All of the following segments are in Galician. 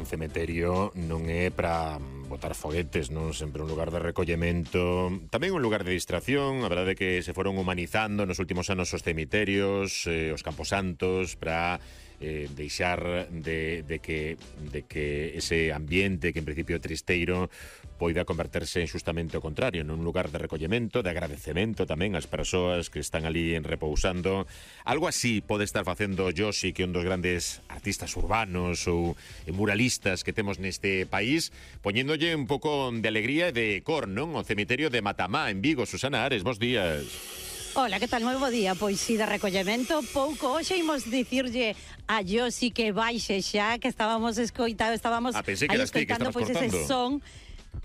cementerio non é para botar foguetes, non? Sempre un lugar de recollemento, tamén un lugar de distracción. A verdade é que se foron humanizando nos últimos anos os cemiterios, os camposantos, para deixar de que ese ambiente que en principio é tristeiro poida converterse justamente ao contrario, nun lugar de recollemento, de agradecemento tamén ás persoas que están ali repousando. Algo así pode estar facendo Josi, que é un dos grandes artistas urbanos ou muralistas que temos neste país, poñéndolle un pouco de alegría e de cor, non? O cemiterio de Matamá, en Vigo. Susana Ares, bons días. Hola, que tal? Moi bo día. Pois si de recollemento pouco. Hoxe imos dicirlle a Josi que baixe xa, que estábamos escoitando, pensei que eras ti que estabas pois cortando. ese son.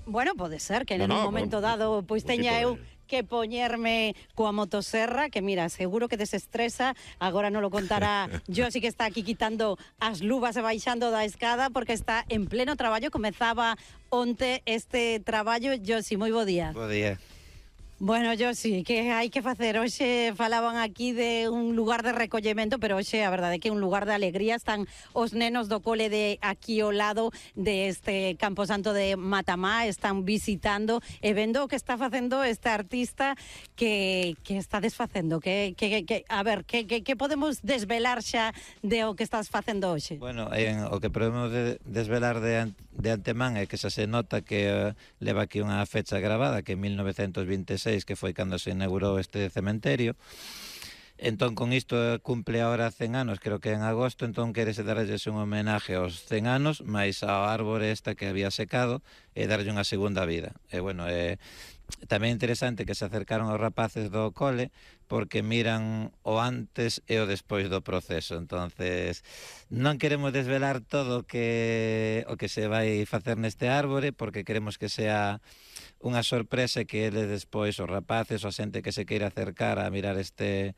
Bueno, pode ser que en un momento dado pois teña eu que poñerme coa motoserra, que mira, seguro que desestresa. Agora non lo contará Josi, que está aquí quitando as luvas e baixando da escada porque está en pleno traballo. Comezaba onte este traballo. Josi, moi bo día. Bo día. Bueno, Josi, que hai que facer? Hoxe falaban aquí de un lugar de recollemento, pero hoxe a verdade é que é un lugar de alegría. Están os nenos do cole de aquí ao lado deste Camposanto de Matamá, están visitando e vendo o que está facendo este artista que está desfacendo. A ver, que podemos desvelar xa de o que estás facendo hoxe? Bueno, o que podemos desvelar de antemán é que xa se nota que leva aquí unha fecha grabada, que é 1926, que foi cando se inaugurou este cementerio. Entón, con isto cumple ahora 100 anos, creo que en agosto. Entón querese darlles un homenaje aos 100 anos, máis ao árbore esta que había secado, e darlle unha segunda vida. E bueno, tamén é interesante que se acercaron aos rapaces do cole, porque miran o antes e o despois do proceso. Entonces, non queremos desvelar todo o que se vai facer neste árbore, porque queremos que sea unha sorpresa, que ele despois, os rapaces, ou a xente que se queira acercar a mirar este